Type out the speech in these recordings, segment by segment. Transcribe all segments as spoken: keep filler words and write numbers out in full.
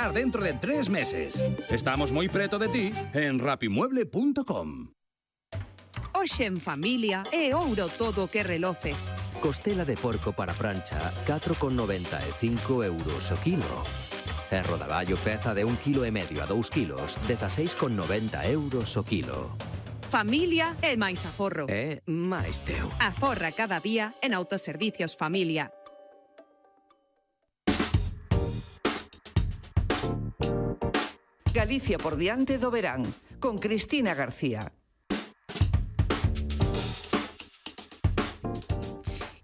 dentro de tres meses. Estamos moi preto de ti en rapimueble punto com. Hoxe en familia é ouro todo o que reloce. Costela de porco para prancha, catro con noventa e cinco euros o kilo. E rodaballo peza de un kilo e medio a dous kilos, dezaseis con noventa euros o kilo. Familia é máis aforro. É máis teu. Aforra cada día en Autoservicios Familia. Galicia por diante do verán, con Cristina García.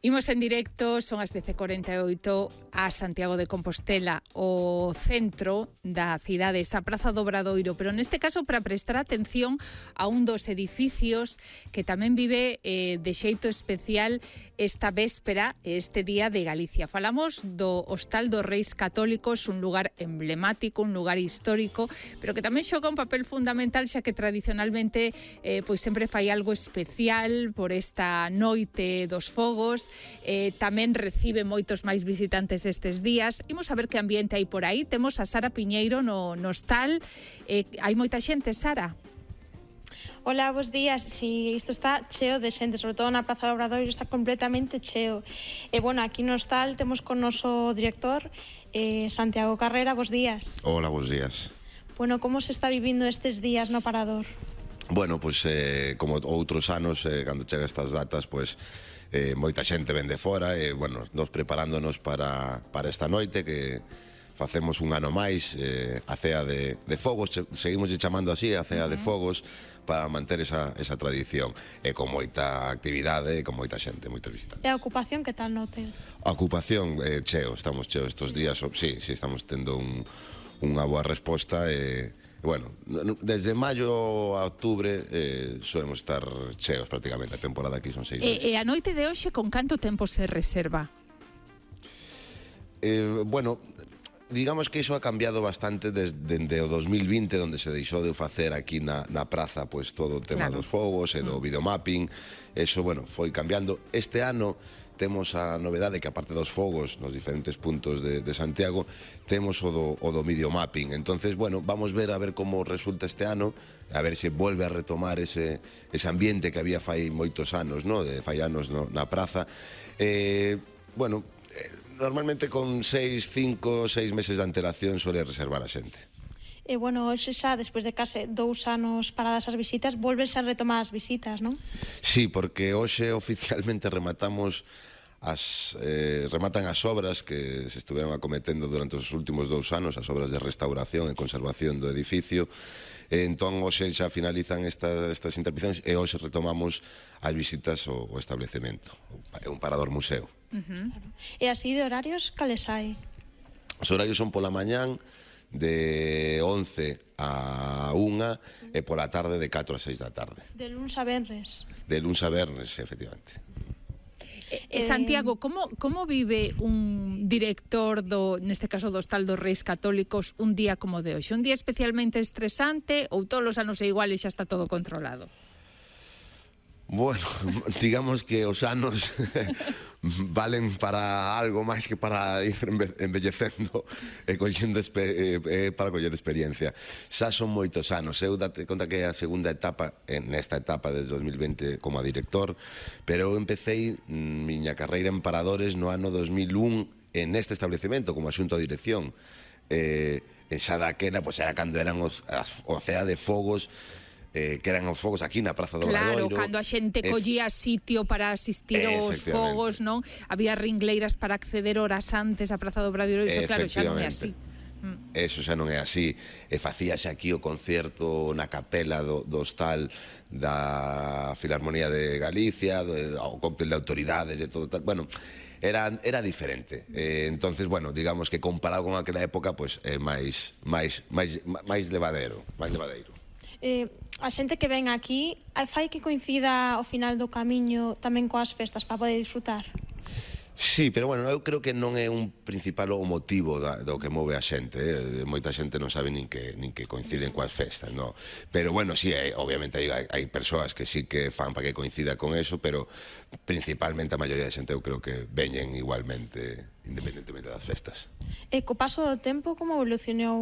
Imos en directo, son as dez e cuarenta e oito, a Santiago de Compostela, o centro da cidade, esa Praza do Obradoiro, pero neste caso para prestar atención a un dos edificios que tamén vive eh, de xeito especial esta véspera, este día de Galicia. Falamos do Hostal dos Reis Católicos, un lugar emblemático, un lugar histórico, pero que tamén xoga un papel fundamental, xa que tradicionalmente eh, pois sempre fai algo especial por esta noite dos fogos. Eh, tamén recibe moitos máis visitantes estes días. Imos a ver que ambiente hai por aí. Temos a Sara Piñeiro no, no hostal. Eh, hai moita xente, Sara? Hola, bos días. Si, isto está cheo de xente, sobre todo na Praza do Obradoiro está completamente cheo. E, bueno, aquí no hostal temos con noso director, eh, Santiago Carrera. Bos días. Hola, bos días. Bueno, como se está vivindo estes días no Parador? Bueno, pois, eh, como outros anos, eh, cando chega estas datas, pois, eh, moita xente ven de fora e, bueno, nos preparándonos para, para esta noite que facemos un ano máis, eh, a cea de, de fogos, seguimos chamando así, a cea uh-huh. de fogos, para manter esa, esa tradición, e con moita actividade e con moita xente, moitos visitantes. E a ocupación, que tal no hotel? A ocupación, eh, cheo, estamos cheo estes días, sí, sí, estamos tendo un, unha boa resposta e... Bueno, desde maio a outubro eh, solemos estar cheos prácticamente, a temporada aquí son seis meses. E, e a noite de hoxe con canto tempo se reserva? Eh, bueno, digamos que iso ha cambiado bastante desde o dos mil vinte, onde se deixou de facer aquí na, na praza pues, todo o tema claro. dos fogos e do videomapping. Eso, bueno, foi cambiando. Este ano temos a novedade que, aparte dos fogos nos diferentes puntos de, de Santiago, temos o do, o do videomapping. Entonces, bueno, vamos ver a ver como resulta este ano, a ver se volve a retomar ese, ese ambiente que había fai moitos anos, no? de fai anos no, na praza. Eh, bueno, eh, normalmente con seis, cinco, seis meses de antelación suele reservar a xente. E, bueno, hoxe xa, despois de case dous anos paradas as visitas, volvense a retomar as visitas, non? Sí, porque hoxe oficialmente rematamos as, eh, rematan as obras que se estuveron acometendo durante os últimos dous anos, as obras de restauración e conservación do edificio. E, entón, hoxe xa finalizan esta, estas intervencións e hoxe retomamos as visitas ao, ao establecemento. É un parador museo. Uh-huh. E así de horarios, cales hai? Os horarios son pola mañán, de once a unha e pola tarde de catro a seis da tarde. De luns a venres? De luns a venres, efectivamente. Eh, Santiago, como, como vive un director, do, neste caso do Hostal dos Reis Católicos, un día como de hoxe? Un día especialmente estresante ou todos os anos é igual e xa está todo controlado? Bueno, digamos que os anos valen para algo máis que para ir embellecendo e collendo eh, para coller experiencia. Xa son moitos anos. Eu date conta que é a segunda etapa, nesta etapa del dos mil vinte como a director, pero eu empecé miña carreira en Paradores no ano dos mil un en este establecemento como asunto a dirección. Eh, en xa daquela, pois era cando eran os, as, o cea de fogos, Eh, que eran os fogos aquí na Praza do Obradoiro. Claro, cando a xente collía sitio para asistir aos fogos, non? Había ringleiras para acceder horas antes á Praza do Obradoiro, iso claro, xa non é así. Eso xa non é así. E facíase aquí o concerto na capela do, do hostal da Filarmonía de Galicia, do, o cóctel de autoridades e todo tal. Bueno, era, era diferente. Eh, entonces, bueno, digamos que comparado con aquela época, pues, é máis, máis, máis, máis levadero, máis levadeiro. Eh, a xente que ven aquí fai que coincida ao final do camiño tamén coas festas para poder disfrutar? Sí, pero bueno, eu creo que non é un principal o motivo da, do que move a xente, eh? Moita xente non sabe nin que, nin que coinciden coas festas, no? Pero bueno, sí, hai, obviamente hai, hai persoas que sí que fan para que coincida con eso, pero principalmente a maioría da xente eu creo que veñen igualmente, independentemente das festas. E co paso do tempo, como evolucionou